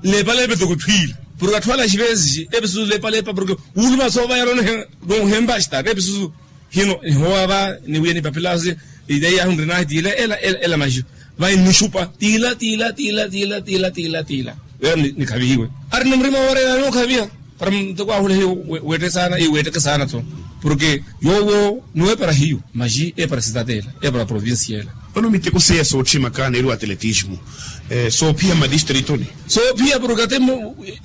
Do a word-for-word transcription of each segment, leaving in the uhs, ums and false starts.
Nleepaleepa etoko etthwiila porke atthu ala axivesixi episu nleepaleepa porke wuuluma soovayara onhempa axitaari episu hino nihoowa va niwiya nipapila ideya ahu nrinaahi tiila ela ela maxu vai nixupa tiila tiila tiila tiila tiila tiila tiila tiila. Weera nikhavihiwe ari ni murima wooreera nookhaviha para muteko ahule hiyo weette saana iweetteke saana tho porke yoowo niweepara hiyo maxi eepara sitateela eepara provincia ela. Vano miteko seiya sootthimaka neeriwa atletismo soophiya mmadistritonyi soophiya porke ate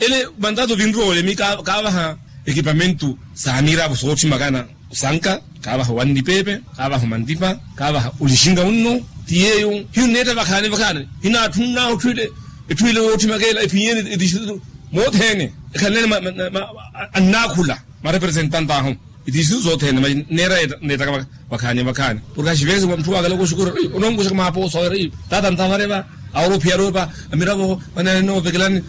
ele mantato vinroole mi kaavaha ekipamentu saamiiravo sootthimaka na osanka kaavaha wannipeepe kaavaha omantipa kaavaha olixinga wunno ti yeeyo hiyo nneetta vakhaani vakhaani hinaatthunnahu etthwiile etthwiile yootthimaka ela ephinyeni etistritu moothene ekhalelene annaakhula marepresentante ahu etistritu sothene neera neettaka vakhaani vakhaani porke axivesixi wa mutthu waakala kooxukura ononkuxaka maapoosa wira taata ntavareva aworophiya aropa amiravo vanene noovekelani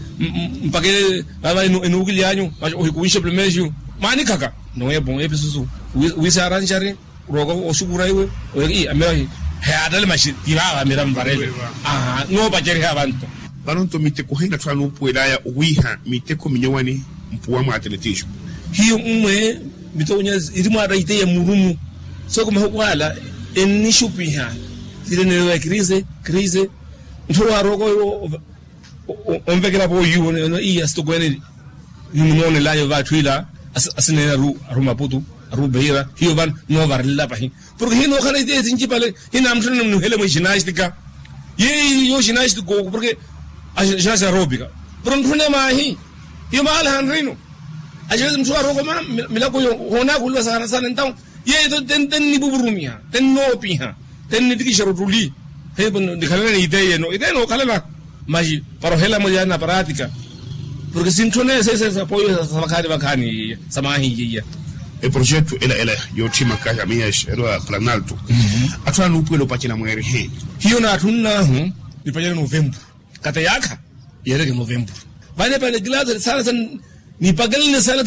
mpakele vava enuukilyanyu ohikuwixe plumexiu maanikhaka nowepo episusu wiisaaranxari rooko oxukura iwe amira heyaattale maxi ti vaava amira mvarele noopaceriha vanto. Vano nto miteko hina atthu anuupuwelaya owiiha miteko minyowani mpuwa mwa atletismo hiyo mmwe miteko nyazi iri mwaara iteya murumu soko mahuku ala ennixupiha tile neerewa ekrise krise ntthu waarookoyo onvekela pooyuwo ene iya sitokweene nimunoonelayo va atthu ila asineene aru maputu aru beira hiyo vano noovarela pahi porke hinookhala iteya esincipale hinaamutthuna nimuhele mwi ginastika yeeyo ginastika oku porke ginastika aroopika porke ntthune maahi hiyo mahala hanrino axivesi mutthu arooko mana milako iyo hoonaakuliwa saana saana entawo yeeyo tennipupurumiha tennoopiha tennittikixera ottuli nikhalana n'iteya eno iteya enookhalana maxi para ohelamo yaana pratika porke sintthone sese sapooyo sa vakhaani vakhaani iya sa maahi iya iya eprojeto ela ela yootthimaka ya miyaxa erowa planalto atthu anuupuwela opacela mweeriheni hiyo naatthunnahu nipacela novemburu kata yaakha yeereke novemburu vane panekilasi saana saana nipakelene saana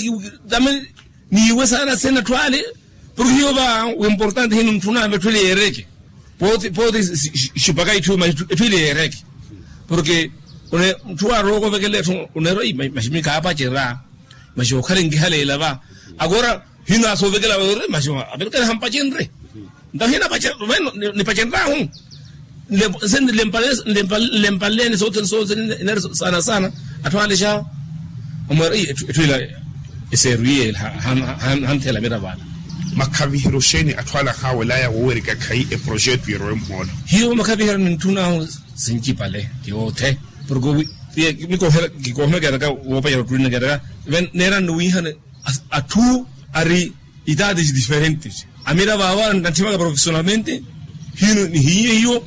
tame niiwe saana sena atthu ale porke hiyo va wimportante hino ntthuna vetthu ile yeereke pooti pooti xipaka itthu ma etthu ile yeereke porke mutthu waarooko ovekela etthu oneera maximi kaapacera maxi okhala enkihaleela va akora hino asoovekela weere maxi avelekela hampacenre ntahi nipacenraahu nlempaleleni sothene sothene inari saana saana atthu aale xa omweera etthu ila eseeru iye hantheela miravo ala makhaviheryo xeeni atthu ala ahaawelaya woowerika khayi eprojeto yerowe muhoolo hiyo makhaviheryo nintthunaahu sincipale yoothe porke kikohela keeraka woopacela ottuli na keeraka neerani wiihana atthu ari itaati diferentes amiravo awo anatthimaka profesionalmente hino nihiiye hiyo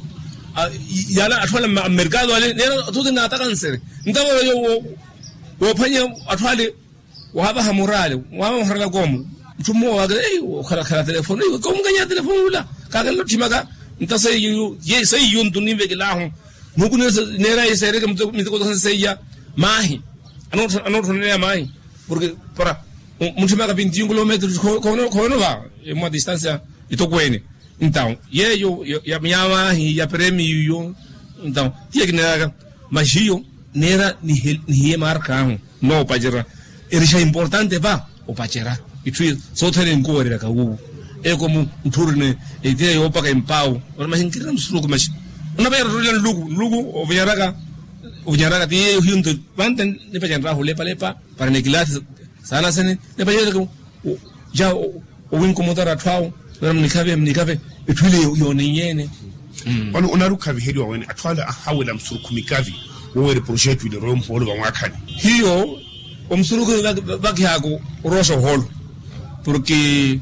yala atthu ale ammerkado ale neera athuti naataka nsere ntavoloyo woophwanya atthu ale waavaha murale waavaha murale koomu mutthu mmowa waakela okhalakhala telefoni komukanya telefoni ula kaakela otthimaka nta seiyo seiyo nto ninvekelahu muhuku neera iseereke miteko tokhani seiya maahi anootthoneleya maahi porke para muntthimaka vinti yungu lometro khono va emwa distansia itokweene entawo yeeyo ya maahi ya premio iyo entawo tiye kineeraka maxi hiyo neera nihiye marka ahu noopacera erixa importante va opacera itthu sothene enkuwereryaka wuwo eko mutthu orina etiya yoopaka empawu ori maxi nkirina musuruku maxi onapacera ottolila nluku nluku ovinyaraka ovinyaraka ti yeeyo hiyo nto vante nipacenryahu olepalepa para nikilasi saana sene nipacerereke ja owinkomotara atthu awo nara munikhavihe munikhavihe etthu ile yooneiyeene vano onari okhaviheriwa wene atthu ale ahawela musurukhu mikavi woowera eprojeto ile orowe muhoolo vamwaakhani hiyo omusurukhu vakihaka orooxa ohoolo porke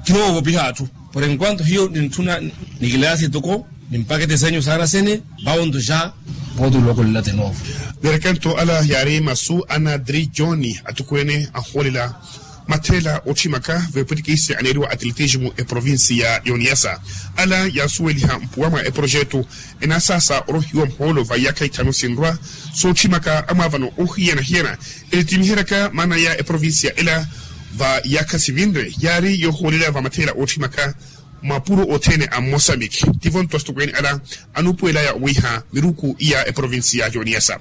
kinoovopiha atthu por enquanto hiyo nintthuna nikilasi toko nimpakete senyu saana sene vawo nto xa vooti olookolela de novo verekanto ala yaari masu ana dri joni atukweene ahoolela matheela ootthimaka veepwitikisi aneeriwa atletismo eprovinsi ya yoniyasa ala yaasuweliha mpuwa mwa eprojeto enaasaasa orohiwa muhoolo va iyaakha ithanu sinrwa sootthimaka amwaavano ohiyana-hiyana enittimiheryaka maana ya eprovinsiya ela va iyaakha sivinre yaari yoohoolela va matheela ootthimaka mapuro othene a mmosamiki tivo nto asitukweene ala anuupuwelaya owiiha miruku iya eprovinsiya yoniyasa.